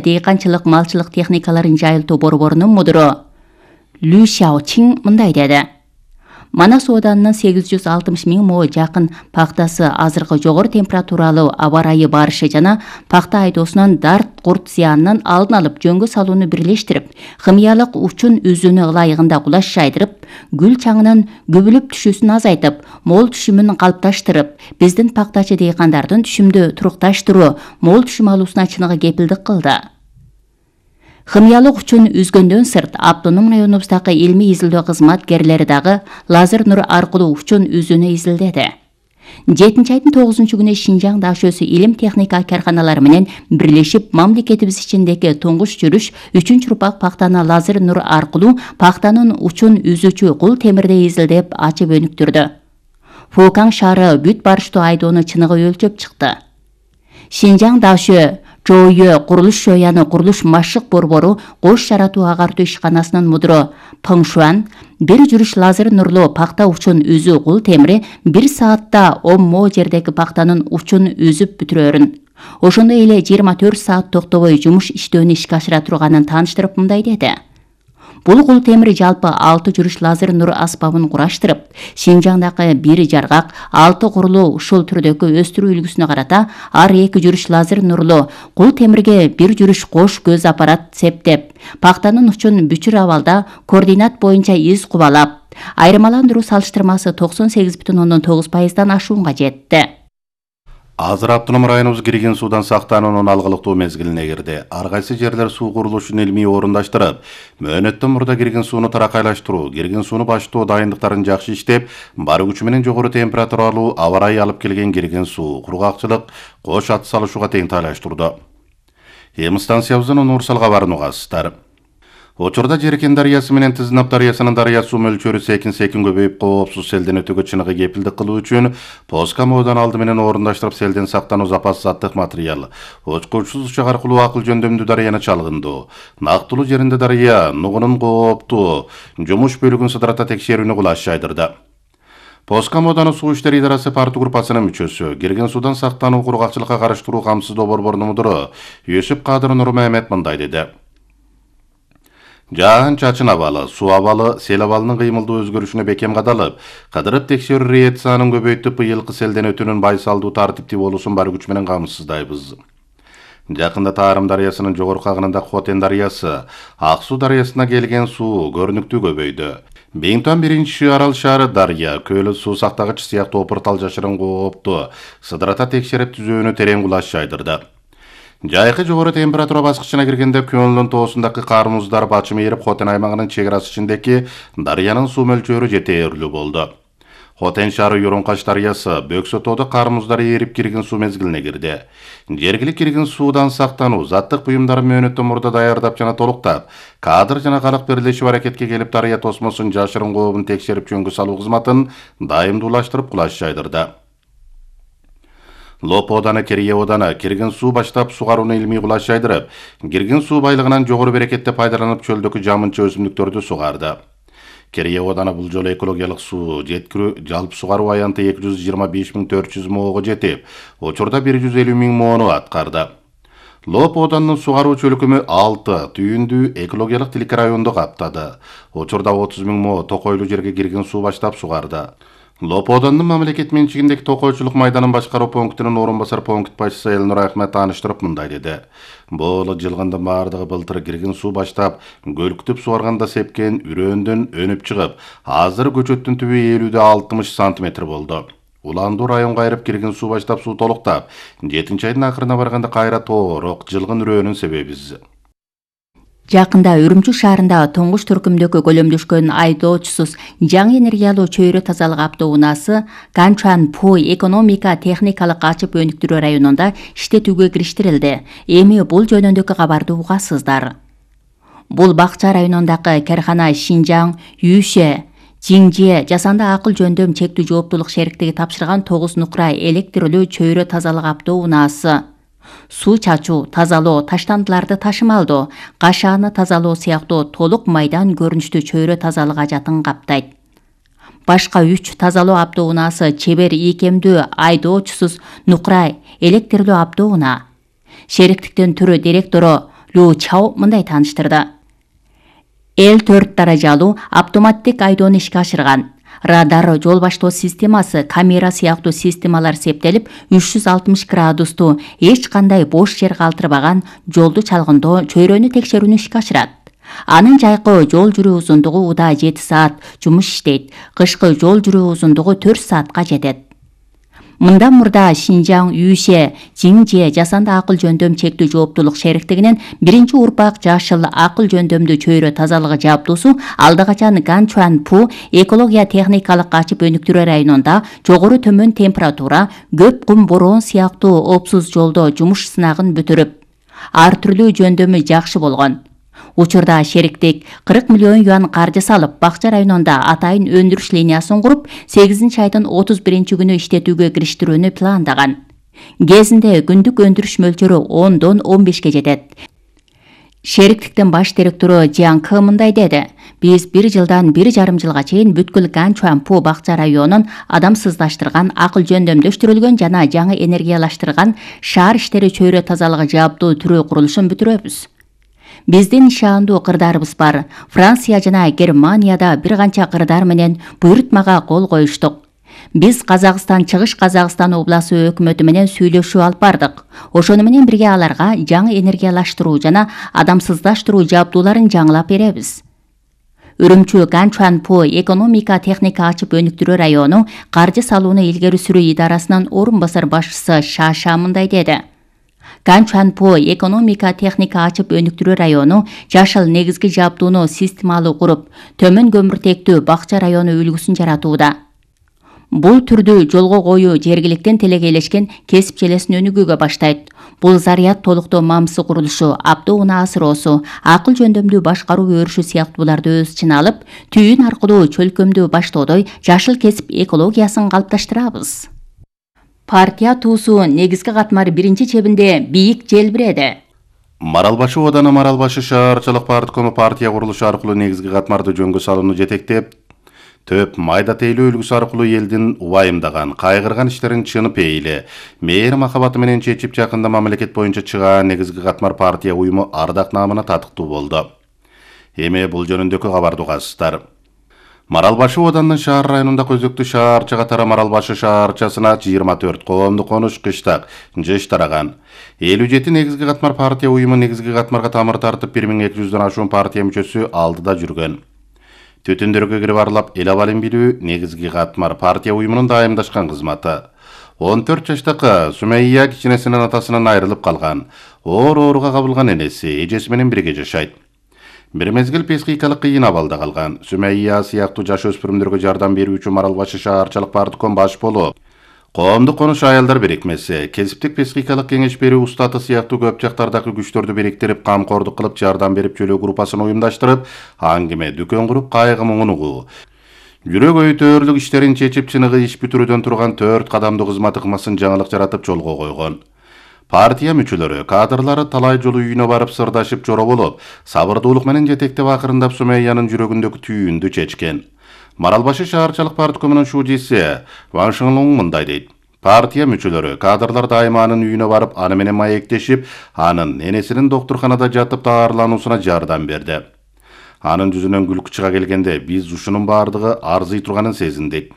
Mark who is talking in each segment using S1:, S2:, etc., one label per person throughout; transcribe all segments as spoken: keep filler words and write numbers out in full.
S1: Дейканчылык малчылык техникаларын жайылтуу борборунун мудуру Лю Шаочин мындай деди. Манас Оданынын сегиз жүз алтымыш миң мо жакын пактасы азыркы жогору температуралуу аба ырайы барышы жана пакта айдоосунан дарт курт зыянынын алдын алып жөнгө салууну бирлештирип, химиялык учун үзүүнү ылайыгында кулаш жайдырып, гүл чаңынын көбүлүп түшүүсүн азайтып, мол түшүмүн калыпташтырып, биздин пактачы дейкандардын түшүмдү турукташтыруу, мол түшүм алуусуна чыныгы кепилдик кылды. Химиялык учун үзгөндөн сырт, автоном районубуздагы илмий изилдөө кызматкерлери дагы лазер нур аркылуу учун үзүүнү изилдеди. жетинчи айдын тогузунчу күнү Шинжаң ДАШОсу илим техника карканалары менен бирлешип мамлекетибиз ичиндеги туңгуш жүрүш үчүнчү урпак пактаны лазер нур аркылуу пактанын учун үзүүчү кул темирде изилдеп ачып өнүктүрдү. Фукаң шаары бүт барыштуу айдоону чыныгы өлчөп чыкты. Шинжаң ДАШО Жоойө курулуш жояны курулуш машык борбору кош жаратуу агартуу ишканасынын мудуру Пыңшуан бир жүрүш лазер нурлуу пакта учун үзүү кул темири бир саатта он мо жердеги пактанын учун үзүп бүтүрөрүн. Ошондой эле жыйырма төрт саат токтобой жумуш иштөөнү ишке ашыра турганын тааныштырып мындай деди. Бул кул темир жалпы алты жүрүш лазер нур аспабын кураштырып, Шинжаңдагы бир жаргак алты курулуу ушул түрдөгү өстүрүү үлгүсүнө карата ар эки жүрүш лазер нурлуу кул темирге бир жүрүш кош көз аппарат септеп, пактанын учун бүчүр абалда координат боюнча из кубалап, айырмаландыруу салыштырмасы токсон сегиз бүтүн ондон тогуз пайыздан ашуунга жетти.
S2: Азыр автоном районубуз кирген суудан сактануунун алгылыктуу мезгилине кирди. Ар кайсы жерлер суу курулушун илмий орундаштырып, мөөнөттөн мурда кирген сууну таракайлаштыруу, кирген сууну баштоо дайындыктарын жакшы иштеп, бар күчү менен жогору температуралуу аба ырайы алып келген кирген суу кургакчылык кош ат салышууга тең тайлаштырды. Эми станциябыздын универсал кабарын угасыздар. Учурда Жеркен дарыясы менен Тизинап дарыясынын дарыя суу мөлчөрү секин-секин көбөйүп, коопсуз селден өтүүгө чыныгы кепилдик кылуу үчүн Поска моодан алды менен орундаштырып селден сактануу запас заттык материал, очкучсуз учак аркылуу акыл жөндөмдүү дарыяны чалгындуу, нактылуу жеринде дарыя нугунун кооптуу жумуш бөлүгүн сыдырата текшерүүнү кулаш жайдырды. Поска моданы суу иштери идарасы партия группасынын мүчөсү, кирген суудан сактануу кургакчылыкка карыштыруу камсыздоо борборунун мудуру Юсуп Кадыр Нур Мехмет мындай деди. Жаан чачын абалы, суу абалы, сел абалынын кыймылдуу өзгөрүшүнө бекем кадалып, кадырып текшерүү реакциянын көбөйтүп, быйылкы селден өтүүнүн байсалдуу тартиптүү болуусун бар күч менен камсыздайбыз. Жакында Таарым дарыясынын жогорку агынында Хотен дарыясы, Ак суу дарыясына келген суу көрүнүктүү көбөйдү. Бейинтон биринчи арал шаары дарыя, Көөлө суу сактагыч сыяктуу опуртал жашырын коопту, сыдырата текшерип түзүүнү терең кулаш жайдырды. Жайкы жогору температура баскычына киргенде Көөлдүн тоосундагы кар муздар бачым ээрип, Хотен аймагынын чек арасы ичиндеги дарыянын суу мөлчөрү жетээрлүү болду. Хотен шаары Юрункаш дарыясы, Бөксө тоодо кар муздар ээрип кирген суу мезгилине кирди. Жергилик кирген суудан сактануу, заттык буюмдарын мөөнөттөн мурда даярдап жана толуктап, кадр жана калык бирлешип аракетке келип, дарыя тосмосун жашырын кообун текшерип жөнгө салуу кызматын дайымдуулаштырып кулаш жайдырды. Лоп Оданы, Керие Оданы кирген суу баштап сугарууну илмий кулаш жайдырып, кирген суу байлыгынан жогору берекетте пайдаланып, чөлдөгү жамынча өсүмдүктөрдү сугарды. Керие Оданы бул жолу экологиялык суу жеткирүү жалпы сугаруу аянты эки жүз жыйырма беш миң төрт жүз моого жетип, учурда бир жүз элүү миң моону аткарды. Лоп Оданынын сугаруу чөлкөмү алты түйүндүү экологиялык тилик районду каптады. Учурда отуз миң мо токойлуу жерге кирген суу баштап сугарды. Лоп Оданынын мамлекет менчигиндеги токойчулук майданын башкаруу пунктунун орун басар пункт башчысы Элнур Ахмет тааныштырып мындай деди. Бул жылгындын баардыгы былтыр кирген суу баштап, көлктүп сугарганда сепкен үрөөндөн өнүп чыгып, азыр көчөттүн түбү элүү алтымыш сантиметр болду. Уландуу районго айрып кирген суу баштап, суу толуктап, жетинчи айдын акырына барганда кайра тоорок жылгын үрөөнүн себебиз.
S1: Жакында Үрүмчү шаарында туңгуш түркүмдөгү көлөмдөшкөн айдоочусуз жаңы энергиялуу чөйрө тазалык автоунаасы Канчан Пой экономика техникалык ачып өнүктүрүү районунда иштетүүгө кириштирилди. Эми бул жөнүндөгү кабарды угасыздар. Бул Бакча районундагы кархана Шинжаң, Юше, Жиңже жасанды акыл жөндөм чектүү жооптулук шериктиги тапшырган тогуз нукра электрлүү чөйрө тазалык автоунаасы суу чачуу, тазалоо, таштандыларды ташымалдоо, кашааны тазалоо сыяктуу толук майдан көрүнүштүү чөйрө тазалык ажатын каптайт. Башка үч тазалоо автоунаасы чебер ийкемдүү айдоочусуз нукра электрлүү автоунаа. Шериктиктин түрү директору Лу Чао мындай тааныштырды. Эл төрт даражалуу автоматтик айдоону ишке ашырган. Радар, жол баштоо системасы, камера сыяктуу системалар септелип, үч жүз алтымыш градусту эч кандай бош жер калтырбаган жолду чалгындоо чөйрөнү текшерүүнү ишке ашырат. Анын жайкы жол жүрүү узундугу удаа жети саат жумуш иштейт. Кышкы жол жүрүү узундугу төрт саатка жетет. Мындан мурда Шинжаң Юйше Жиңже жасанды акыл жөндөм чектүү жооптулук шериктигинин биринчи урпак жашыл акыл жөндөмдүү чөйрө тазалыгы жабдуусу алда качан Ганчуан-Пу экология техникалык ачып өнүктүрүү районунда жогору төмөн температура, көп кум бороон сыяктуу опсуз жолдо жумуш сынагын бүтүрүп, ар түрдүү жөндөмү жакшы болгон. Учурда шериктик кырк миллион юан каржы салып, Бакча районунда атайын өндүрүш линиясын куруп, сегизинчи айдын отуз биринчи күнү иштетүүгө кириштирүүнү пландаган. Кезинде күндүк өндүрүш мөлчөрү ондон он бешке жетет. Шериктиктин баш директору Жиан Кы мындай деди. Биз бир жылдан бир жарым жылга чейин бүткүл Ганчуан-Пу Бакча районун адамсыздаштырган, акыл жөндөмдөштүрүлгөн жана жаңы энергиялаштырган шаар иштери чөйрө тазалыгы жабдуу түрүү курулушун бүтүрөбүз. Биздин ишаандуу кырдарыбыз бар. Франция жана Германияда бир канча кырдар менен буйрутмага кол коюштук. Биз Казакстан, Чыгыш Казакстан обласы өкмөтү менен сүйлөшүү алып бардык. Ошону менен бирге аларга жаңы энергиялаштыруу жана адамсыздаштыруу жабдууларын жаңылап беребиз. Үрүмчү Ганчуан-Пу экономика техника ачып өнүктүрүү району каржы салууну илгери сүрүү идарасынын орун басар башчысы Шаша мындай деди. Ганчуан-Пу экономика техника ачып өнүктүрүү району жашыл негизги жабдууну системалуу куруп, төмөн көмүртектүү Бакча району үлгүсүн жаратууда. Бул түрдүү жолго коюу жергиликтен телегейлешкен кесип желесин өнүгүүгө баштайт. Бул заряд толуктоо мамсы курулушу, автоунаа асыроосу, акыл жөндөмдүү башкаруу өрүшү сыяктууларды өз ичине алып, түйүн аркылуу чөлкөмдүү баштоодой жашыл кесип экологиясын калыпташтырабыз. Партия туусу негизги катмар биринчи чебинде бийик желбиреди.
S2: Маралбашы ооданы Маралбашы шаарчылык парткому партия курулушу аркылуу негизги катмарды жөнгө салууну жетектеп, төп майда тейлөө үлгүсү аркылуу элдин убайымдаган, кайгырган иштерин чынып эйле, мээри махабаты менен чечип жакында мамлекет боюнча чыгаан негизги катмар партия уюму ардак наамына татыктуу болду. Эми бул жөнүндөгү кабарды угасыздар. Маралбашы оодандын шаар районундагы өзөктүү шаарча катары Маралбашы шаарчасына жыйырма төрт коомдук конуш кыштак жыш тараган. элүү жети негизги катмар партия уюму негизги катмарга тамыр тартып бир миң эки жүздөн ашуун партия мүчөсү алдыда жүргөн. Түтүндөргө кирип аралап эл абалын билүү негизги катмар партия уюмунун дайымдашкан кызматы. он төрт жаштагы Сумейя кичинесинин атасынан айрылып калган. Оор ооруга кабылган энеси эжеси менен бирге жашайт. Бир мезгил психикалык кыйын абалда калган. Сумейя сыяктуу жаш өспүрүмдөргө жардам берүүчү Маралбашы шаарчылык партком баш болуп, коомдук конуш аялдар бирикмеси, кесиптик психикалык кеңеш берүү устаты сыяктуу көп жактардагы күчтөрдү бириктирип, камкордук кылып жардам берип чөлөө группасын уюмдаштырып, аңгеме, дүкөн куруп, кайгы муңун угуу, жүрөк өйтөрлүк иштерин чечип, чыныгы иш бүтүрүүдөн турган төрт кадамдуу кызмат ыкмасын жаңылык жаратып жолго койгон. Партия мүчөлөрү, кадрлары талай жолу үйүнө барып сырдашып жоро болуп, сабырдуулук менен жетектеп акырындап Сумейянын жүрөгүндөгү түйүндү чечкен. Маралбашы шаарчылык парткомунун шуудиси Ван Шыңлуң мындай дейт. Партия мүчөлөрү, кадрлар дайыма анын үйүнө барып, аны менен маектешип, анын энесинин доктурканада жатып даарылануусуна жардам берди. Анын жүзүнөн күлкү чыга келгенде биз ушунун баардыгы арзый турганын сезиндик.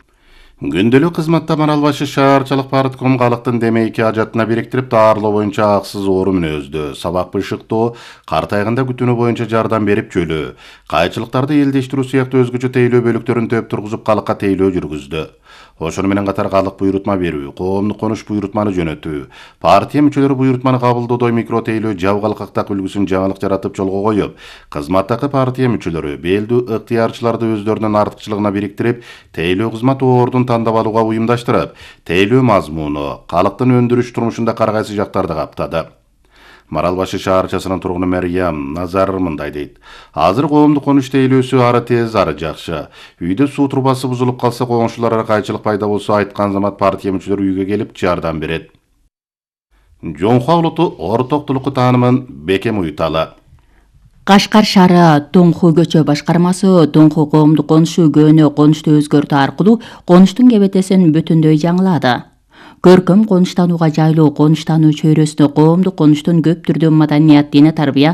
S2: Күндөлүк кызматта Маралбашы шаарчылык партком калктын демейки ажатына бириктирип, даарылоо боюнча аксыз оору мүнөздү, сабак бышыктоо, картайганда күтүүнү боюнча жардам берип чөлөө, кайчылыктарды элдештирүү сыяктуу өзгөчө тейлөө бөлүктөрүн төп тургузуп калкка тейлөө жүргүздү. Ошону менен катар калык буйрутма берүү, коомдук конуш буйрутманы жөнөтүү, партия мүчөлөрү буйрутманы кабылдоодой микро тейлөө жабгалкактак үлгүсүн жаңылык жаратып жолго коюп, кызматтагы партия мүчөлөрү белдүү ыктыярчыларды өздөрүнүн артыкчылыгына бириктирип, тейлөө кызмат ордун тандап алууга уюмдаштырып, тейлөө мазмуну, калктын өндүрүш турмушунда кар кайсы жактарды каптады. Маралбашы шаарчасынын тургуну Мәрьям Назар мындай дейт. Азыр коомдук конуш тейлөөсү ары тез, ары жакшы. Үйдө суу трубасы бузулуп калса, коңшуларга кайчылык пайда болсо, айткан замат партия мүчөлөрү үйгө келип жардам берет. Жоңхуа улуту ортоктулукку таанымын бекем уюталы.
S1: Кашкар шаары Доңху көчө башкармасы Доңху коомдук конушу көөнө конушту өзгөртүү аркылуу конуштун кебетесин бүтүндөй жаңылады. Көркөм конуштанууга жайлуу конуштануу чөйрөсүнө коомдук конуштун көп түрдүү маданият, диний тарбия,